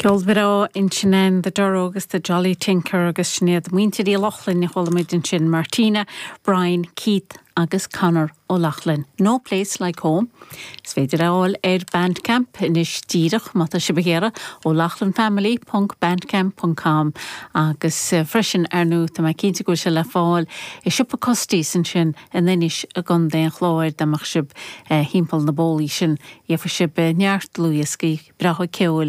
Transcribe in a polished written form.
Ceol breá ansin ann, The Durrow agus The Jolly Tinker agus sin iad muintir Uí Lochlainn a chuala muid ansin, Martina, Brian, Keith agus Conor Ó Lochlainn. No Place Like Home. Is féidir é a fháil ar Bandcamp anois díreach má tá sibh ag iarraidh, O'Loughlinfamily ponc bandcamp ponc com agus freisin, ar ndóigh, tá mé cinnte go bhfuil sé le fáil i siopa Custies ansin in Inis i gContae an Chláir, dá mbeadh sibh thimpeall na bólaí sin, gheobhaidh sibh neart dlúthdhioscaí breátha ceoil.